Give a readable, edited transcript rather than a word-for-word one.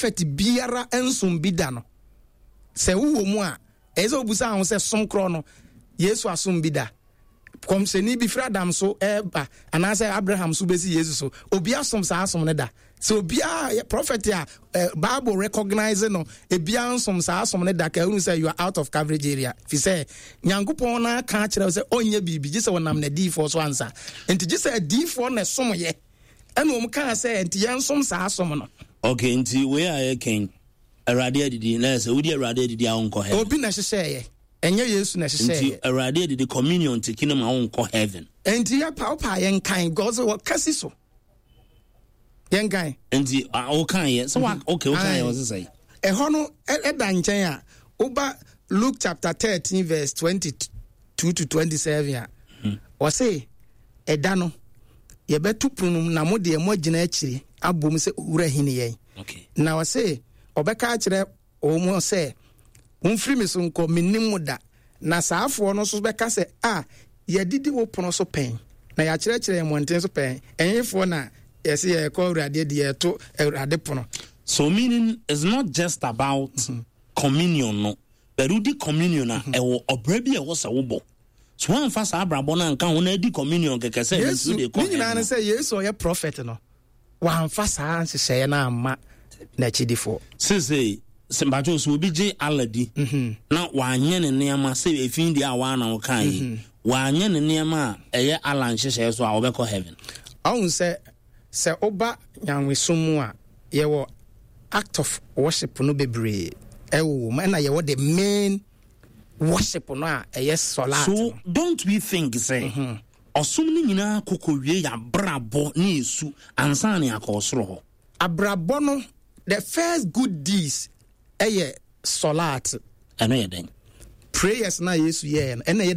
Prophet biara nsom bi da no, sɛ wowɔ mu a, ɛyɛ sɛ wobusa ho sɛ som korɔ no, Yesu asom bi da? Kɔmhyɛni bi firi Adam so ɛba anaasɛ Abraham so bɛsi Yesu so, obi asom saa asom no da? Sɛ obiara prophet a Bible recognize no, ebiara nsom saa asom no da, ka ehunu sɛ you are out of coverage area, fi sɛ Nyankopɔn no aka akyerɛ sɛ ɔnyɛ biribi gye sɛ ɔnam n'adiyifoɔ so ansa. Nti gye sɛ adiyifoɔ na ɛsom yɛ, ɛna wɔn kaa sɛ nti yɛnsom saa asom no. Okay, nti wei a yɛkɛn Awurade adidi na sɛ wodi Awurade adidi a wonkɔ heaven. Obi na ɛhyehyɛeɛ, ɛnyɛ Yesu na ɛhyehyɛeɛ. Nti Awurade adidi, communion tiki no ma wonkɔ heaven. Nti yɛpa wopa yɛnkan because wɔka si so. Yɛnkan. Nti wokaeɛ sɛ wa okay, wokaeɛ wɔ sesɛ. Ɛhɔ no ɛda nkyɛn a, woba Luke chapter 13 verse 22 to 27 a, ɔse ɛda no yɛbɛto pono mu na mo deɛ moagyina akyiri abom sɛ owura hene yɛn. Na ɔse ɔbɛka akyerɛ wɔn sɛ, momfiri me so nkɔ, mennim mo da. Na saa afoɔ no nso bɛka sɛ, a yɛadidi wo pono so pɛn, na yɛakyerɛkyerɛ yɛn mmɔnten so pɛn, ɛhefoɔ na yɛse yɛrekɔ Awurade adi, yɛreto Awurade pono? So meaning is not just about communion no, but wodi communion a, ɛwɔ ɔbrɛ bi a ɛwɔ sɛ wobɔ. So woamfa saa abrabɔ no anka ho na adi communion kɛkɛ sɛ Yesu nsuo de kɔ ne nyinaa ne sɛ Yesu ɔyɛ prophet no, wamfa saa nhyehyɛeɛ no amma n'akyidifoɔ. Seesei sɛ mpakyɛw sɛ obi gye Allah di na wanyɛ ne nneɛma sɛ efi deɛ a waa na wokaa yi, wanyɛ ne nneɛma a ɛyɛ Allah nhyehyɛeɛ so a, ɔbɛkɔ heaven? Ɔhu sɛ sɛ woba nyamesom mu a, yɛwɔ act of worship no bebree ɛwɔ mu, ɛna yɛwɔ the main worship no a ɛyɛ salat. So don't we think sɛ ɔsom no nyinaa kɔkɔwie yɛ abrabɔ ne esu ansa na yɛakɔ ɔsoro hɔ? Abrabɔ no, the first good deeds ɛyɛ salat. Ɛno yɛ dɛn? Prayers na Yesu yɛɛ no, ɛna ɛyɛ